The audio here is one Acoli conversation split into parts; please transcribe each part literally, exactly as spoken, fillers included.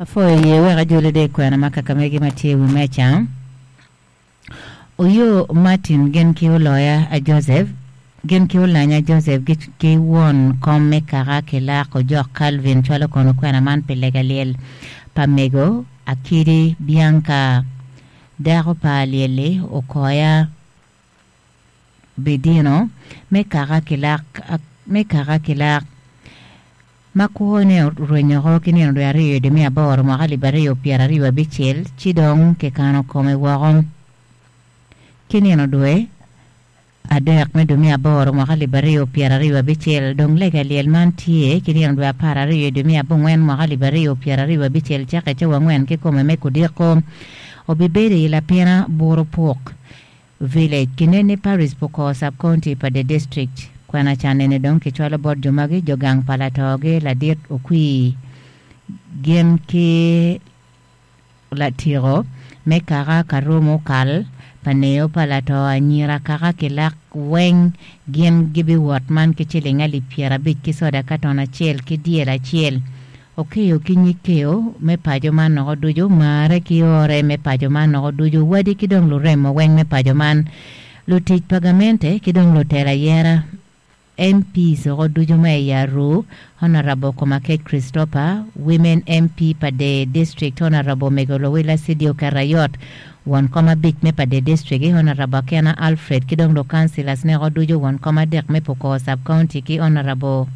Afoyo ye wek ajoli de kwena ma Kakamegi ma tye i wi meca. Oyo Martin gin ki oloya a Joseph gin ki olanya Joseph gi ki won kom me kaka Kilak Ojok Calvin cwalo kono kwena man pi lega lyel pa mego Akidi Bianca dako pa lyelli Okoya Bidino me kaka Kilak me kaka Kilak ma kwone orwenyoko ki nino dwe aryo dwe me aboro mwaka alip aryo pyero aryo abicel ci dong kikano kome woko ki nino dwe adek me dwe me aboro mwaka alip aryo pyero aryo abicel dong lega lyel man tye ki nino dwe apar aryo dwe me abongwen mwaka alip aryo pyero aryo abicel cake cawa angwen ki kome me kudiko obibedo i lapina Buru Puk Village kinene Parish Pukor Sub-County pa the district kwena canene dong kicwalo bot jo magi jo gang pa latogi ladit okwi gin ki latiko me kaka karumo kal pa neo pa lato anyira kaka Kilak weng gin gibiwot man ki ciling alip pyero abic ki soda katon acel ki dyel acel okeyo ki nyig keo me paco man noko ducu mare ki ore me paco man noko ducu wadi ki dong luremo weng me paco man lutic pa gamente ki dong lutela yera M Ps oko ducu ma i Aru Honorable Komakech Christopher Women M P pa the District Honorable Mego Lowila Sidio Kerayot won kom abic me pa the District Honorable Akena Alfred ki dong lukansilas neko ducu won kom adek me Pukor Sub-County ki Honorable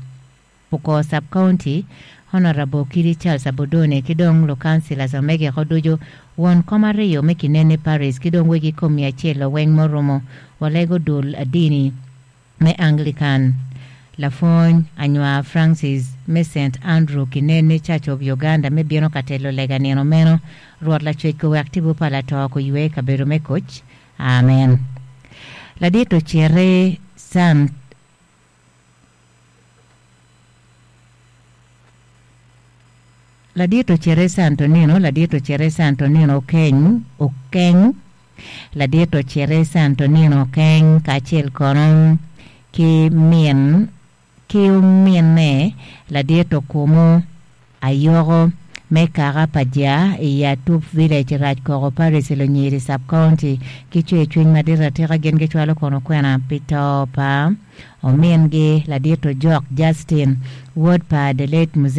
Pukor Sub-County Honorable Kiri Charles Abodone ki dong lukansilas omege ko ducu won kom aryo me Kinene Parish ki dong wegi komi acel oweng murumo walego dul adini me Anglican Lafony Anywa Francis me Saint Andrew Kinene Church of Uganda me bino ka telo lega nino meno Rwot lacwec kowek tipo pa lato kuywe kabedo me koc. Amen. Ladit ocere Sant Ladit ocere Santonino Ladit ocere Santonino Okeny Okeng Ladit ocere Santonino Okeng kacel kono ki min ki ominne ladit okumu ayoko me kaka pa ja i Atup Village Rac Koko Parish Lunyiri Sub-County ki cwer cwiny madit atika gin gicwalo kono kwena pi to pa omingi ladit Ojok Justin wod pa the late Mzee